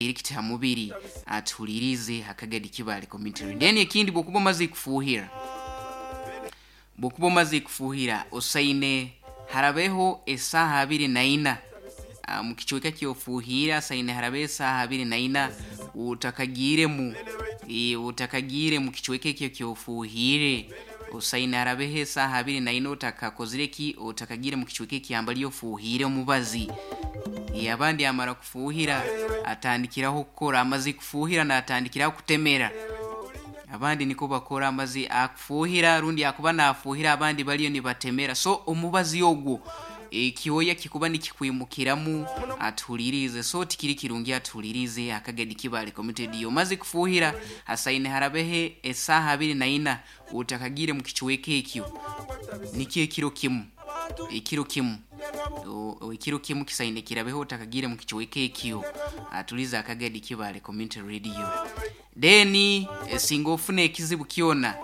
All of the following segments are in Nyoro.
Kiti ha mubiri atuhulirize hakagadi Kibale Community. Then ekindi, bwokuba omaze kufuhira, bwokuba omaze kufuhira, osaine harabeho esaaha 24 mu kicweka kyofuhira, asaine harabeho esaaha 24 utakagiiremu, utakagiire mu kicweka ekyo kyofuhire. Osaine harabeho esaaha 24 otakakozire ki, otakagiire mu kicweka ekyambali ofuhire omubazi. Abandi amara kufuhira atandikiraho kukora, amaze kufuhira natandikiraho kutemera. Abandi niko bakora, amazi akufuhira rundi akuba nafuhira, abandi baliyo nibatemera. So omubazi ogwo ekyoya kikuba nikikwimukiramu. Atuhulirize, so tikiri kirungi. Atuhulirize akagedi Kibale Community Radio. Omaze kufuhira, asaine harabehe esaaha 24 utakagire mu kicweka ekyo, nikyo ekiro kimu, ekiro kimu, ekiro kimu kisaine kirabeho utakagire mu kicweka ekyo. Atulize akagedi Kibale Community Radio. Then singa ofuna ekizibu kyona,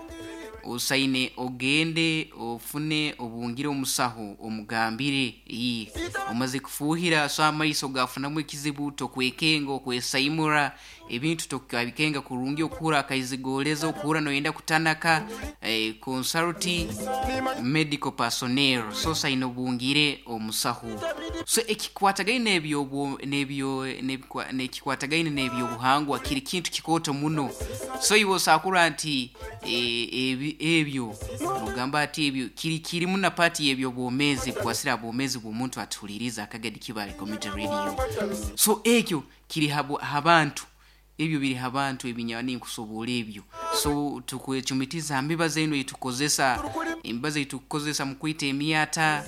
osaine ogende ofune obungire omusaho, omugambire iyi omaze kufuhira, so amaiso gafunamu ekizibu, tokwekenga, okwesaimura ebintu tokabikenga kurungi, okuhura akaizigoleza, okuhura noyenda kutanaka, consult medical personnel. So saine obungire omusaho. So ekikwatagaine nebyo nebyo nekikwatagaine nebyobuhangwa kiri kintu kikooto muno. So iwe osakura nti ebyo nogamba ati ebyo kiri kirimu na pati y'ebyobwomezi, kukwasira abwomezi bw'omuntu. Atuhuliriza akagadi Kibale Community Radio. So ekyo kiri habantu, ebyo biri habantu ebinyani nkusobola ebyo. So tukwecumitiza mbibazi eno etukozesa, emibazi etukukozesa mu kwita emyata,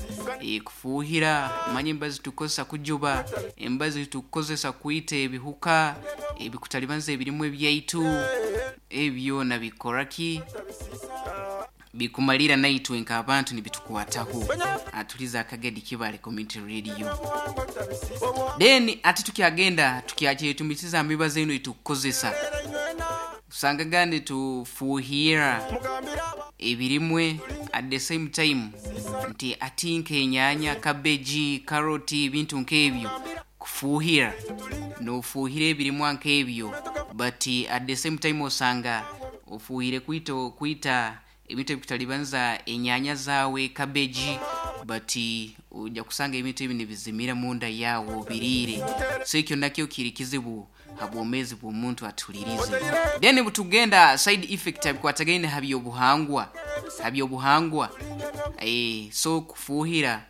kufuhira, manya emibazi tukozesa kujuba, emibazi tukukozesa kwita ebihuka ebikutalibanza ebirimu ebyaitu, ebyo nabikora ki, bikumalira naitwe nk'abantu nibitukwataho. Atuliza akagedi Kibale Community Radio. Then ati tukyagenda tukyakyetumisiza mibazi eno etukukozesa, usangaga nitufuhira ebirimwe at the same time, nti ati nk'enyanya, cabbage, carrot, ebintu nk'ebyo, kufuhira nofuhira ebirimwa nk'ebyo, but at the same time osanga ofuhire kwita ebintu ebikutalibanza enyanya zawe, cabbage, but ojja kusanga ebintu ebi nibizimira munda yawe obiriire. So ekyo nakyo kiri kizibu habwomezi bw'omuntu. Atuhulirize. Then butugenda side effect abikwatagaine habyobuhangwa, habyobuhangwa. So kufuhira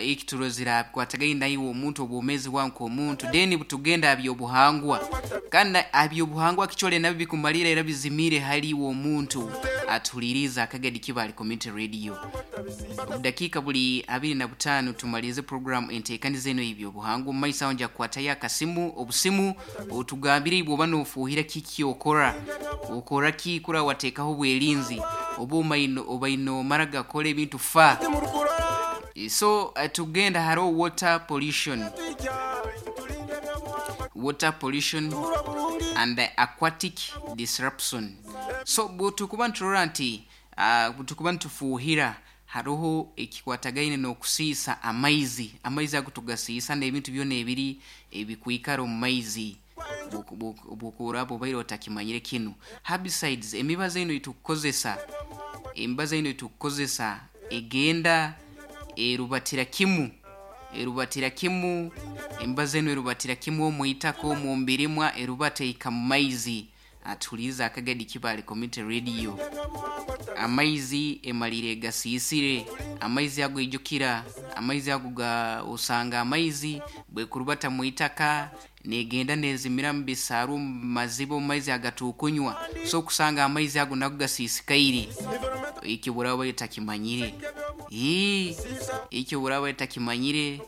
ekiturozire abikwatagaine naiwe omuntu, obwomezi bwawe nk'omuntu. Then butugenda habyobuhangwa, kandi habyobuhangwa kichole nabyo bikumalira era bizimire hali iwe omuntu. Atuhuliriza akagadi Kibale Community Radio. Obudakiika buli 25 tumalize program enteekaniza eno y'ebyobuhangwa. Omu maiso aho nja kukwatayo akasimu, obusimu, otugambire ibwe oba nofuhira kiki, okora okora ki kura wateekaho obwerinzi, oba omaino obaino omara gakora ebintu fa. So tugenda hariho water pollution, water pollution and the aquatic disruption. So bwetukuba niturora nti bwetukuba nitufuhira, hariho ekikwatagaine n'okusiisa amaizi. Amaizi ago tugasiisa n'ebintu byona ebiri ebikwikara omu maizi. Bwokuraba obaire otakimanyire kinu, herbicides, emibazi eno etukukozesa, emibazi eno etukukozesa egenda erubatira kimu, erubatira kimu, emibazi eno erubatira kimu omu itaka, omu mbirimwa, erubata ehika mu maizi. Atuhuliriza akagadi Kibale Community Radio. Amaizi emalire gasiisire amaizi ago, ijukira amaizi ago ga osanga amaizi bwekurubata mu itaka negenda nezimira mu bisaaru, mu maziba, omu maizi agatukunywa. So kusanga amaizi ago nago gasiisikaire. Ekyo buraba takimanyire, ekyo buraba takimanyire,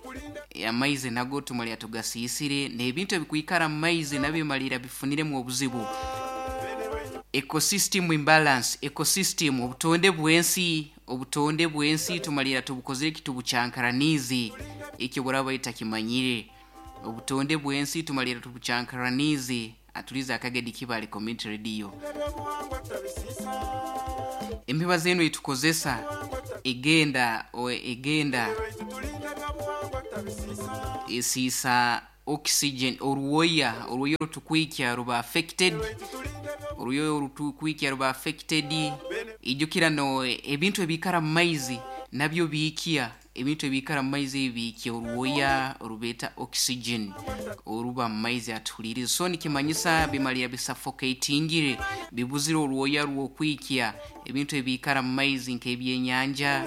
amaizi nago tumalira tugasiisire, n'ebintu ebikwikara mu maizi nabyo bimalira bifuniremu obuzibu. Ecosystem imbalance, ecosystem, obutonde bw'ensi, obutonde bw'ensi tumalira tubukozire ki, tubucyankaraniize. Ekyo buraba takimanyire, obutonde bw'ensi tumalira tubucyankaraniize. Atuliza akagedi Kibale Community Radio. Emibazi eno etukozesa egenda egenda esiisa. Oxygen, oruwoya, oruwoya orutukwikya ruba affected, oruyoya orutukwikya ruba affected. Ijukira no ebintu ebikara mu maizi nabyo biikya, ebintu ebikara mu maizi ebi biikya oruwoya orubeeta oxygen oruba mu maizi atuhuliriza. So nikimanyisa bimalira bisuffocatingire, bibuzire oruwoya rw'okwikya ebintu ebikara mu maizi nk'ebyenyanja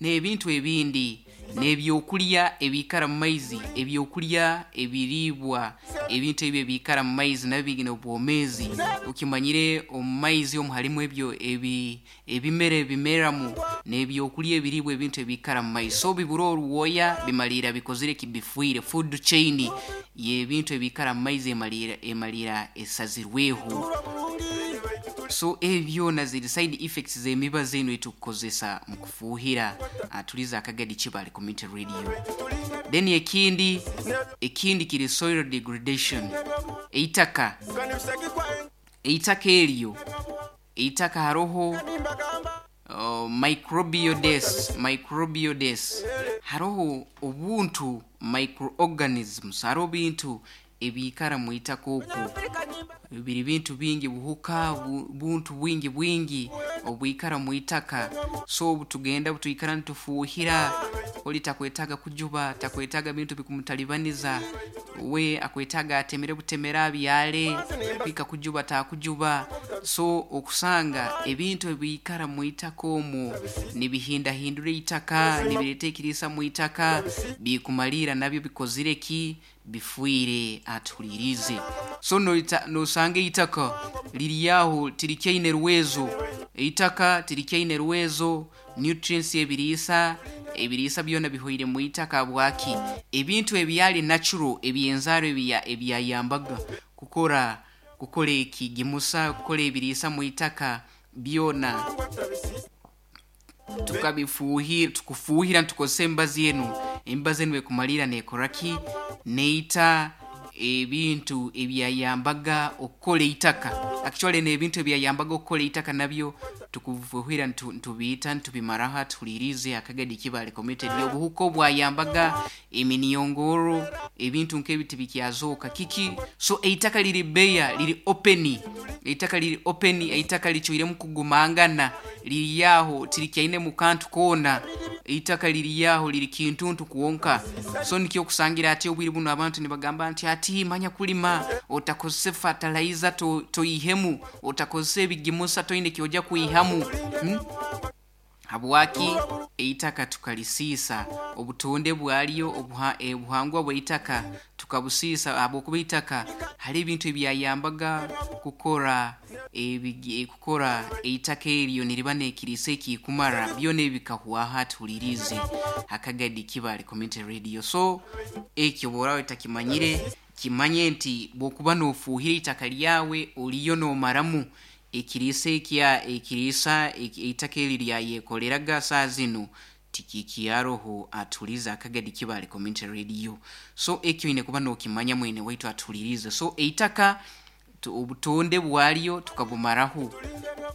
n'ebintu ebindi, n'ebyokulya ebikara mu maizi, ebyokulya ebiriibwa, ebintu ebyo ebikara mu maizi nabyo biine obwomeezi. Okimanyire omu maizi omu harimu ebyo ebimera ebimeramu n'ebyokulya ebiriibwa ebintu ebikara mu maizi. So bibura oruwoya bimalira bikozire ki? Bifiire. Food chain y'ebintu ebikara mu maizi emalira emalira esazirweho. So ebi byona ziri side effects z'emibazi enu etukukozesa mu kufuuhira. Atuliza Akagadi Kibale Community Radio. Then ekindi, ekindi kiri soil degradation. Eitaka, eitaka eryo, eitaka haroho microbial death, microbial death. Haroho obuntu microorganisms, haroho bintu ebiikara mu itaka oku, biri bintu bingi, buhuka, buntu bwingi bwingi obwikara mu itaka. So obu tugenda butwikara nitufuuhira, oli takwetaaga kujuba, takwetaaga bintu bikumutalibaniza, we akwetaaga atemere butemere abyale, kwika kujuba takujuba. So okusanga ebintu ebiikara mu itaka omwo nibihindahindura eitaka, nibireeta ekiriisa mu itaka, bikumalira nabyo bikozire ki? Bifiire. Atuhuliriize. So nosanga eitaka riri aho tirikyaine rwezo, eitaka tirikyaine rwezo, nutrients, ebiriisa, ebiriisa byona bihoire mu itaka. Habwaki? Ebintu ebyali natural eby'enzaaro ebyayambaga kukora kukora ekigimusa, kukora ebiriisa mu itaka byona tukabifuuhira, tukufuuhira nitukozesa emibazi enu, emibazi enu ekumalira neekora ki? Neita ebintu ebyayambaga okukora eitaka. Actually n'ebintu ebyayambaga okukora eitaka nabyo tukufuuhira nitubiita, nitubimaraho. Atuhuliriize Akagadi Kibale Community. Obuhuka obwayambaga eminyongoro, ebintu nk'ebi tibikyazooka. Kiki? So eitaka riri bare, riri open, eitaka riri open, eitaka ricwiremu kugumangana, riri aho tirikyainemu kantu koona, eitaka riri aho riri kintuntu kwonka. So nikyo okusangira ati obwire bunu abantu nibagamba nti ati manya kulima otakozesa fertilizer, toihemu, otakozesa ebigimusa, toine kyojja kwihamu. Habwaki? Eitaka tukalisiisa, obutonde bwaryo, obuhangwa bw'eitaka tukabusiisa, habwokuba eitaka hariho ebintu ebyayambaga kukora kukora eitaka eryo niriba n'ekiriisa ekikumara, byona ebi bikahwaho. Atuhuliriize Akagadi Kibale Community Radio. So ekyo bw'oraba otakimanyire, kimanye nti bw'okuba noofuuhira eitaka ryawe oriyo noomaramu ekiriisa ekya ekiriisa eitaka eri ryayekoleraga, saaha zinu tikikyaroho. Atuhulirize Akagadi Kibale Community Radio. So ekyo oine kuba nookimanya mwene waitu atuhuliriize. So eitaka obutonde bwaryo tukabumaraho,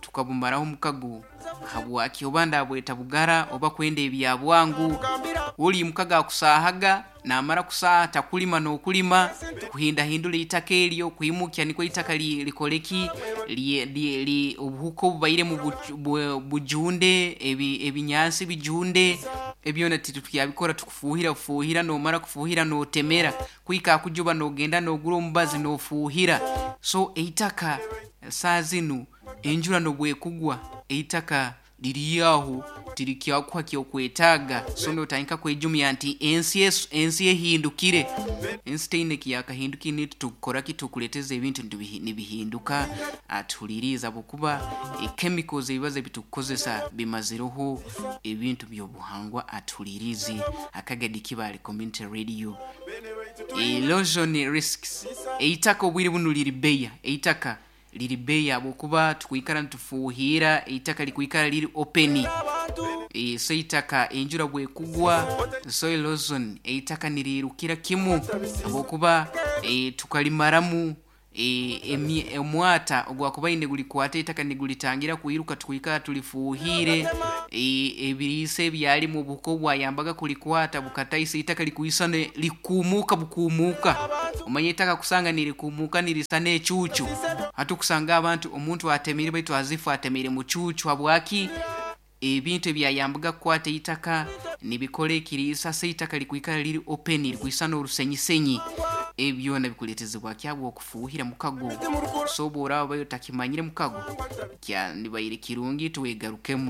tukabumaraho omukago. Habwaki? Oba ndabweta bugara oba kwenda ebya bwangu. Oli mukago akusaahaga, naamara kusaaha takulima n'okulima, kuhindahindura eitaka eryo, kwimukya nikwo eitaka likore ki? Obuhuka obubairemu bujunde, ebinyansi bijunde, ebyona titukyabikora, tukufuuhira bufuuhira, noomara kufuuhira nootemera, kwika akujuba noogenda noogura omubazi noofuuhira. So eitaka saaha zinu enjura n'obwekugwa eitaka riri aho tirikyakuha kyokwetaaga. So nootandika kwejumya nti ensi ensi ehindukire, ensi teine ekiyakahindukire, nitwe tukukora ki? Tukuleeteza ebintu nibihinduka. Atuhuliriize, habwokuba chemicals, ebibazi ebitukukozesa bimazireho ebintu by'obuhangwa. Atuhuliriize Akagadi Kibale Community Radio. Erosion risks, eitaka obwire bunu riri bare, eitaka riri bare habwokuba tukwikara nitufuuhira, eitaka likwikara riri open. So eitaka enjura bwekugwa, soil erosion, eitaka niriirukira kimu habwokuba tukalimaramu. Omwata ogwakubaire nigulikwata itaka nigulitangira kwiruka, tukwikara tulifuuhire. Ebiriisa ebyalimu obuhuka obwayambaga kulikwata bukataisa itaka likwisana likumuuka bukumuuka. Omanye itaka kusanga nirikumuuka nirisana ecuucu. Hati okusanga abantu omuntu atemire baitu azifu atemire mucuucu. Habwaki? Ebintu ebyayambaga kukwata itaka nibikora ekiriisa, se itaka likwikara liri open, likwisana orusenyisenyi. Ebi byona bikuleetezebwa kyabwa okufuuhira mukago. So obu oraaba otakimanyire mukago, kyandibaire kirungi tuwegarukemu.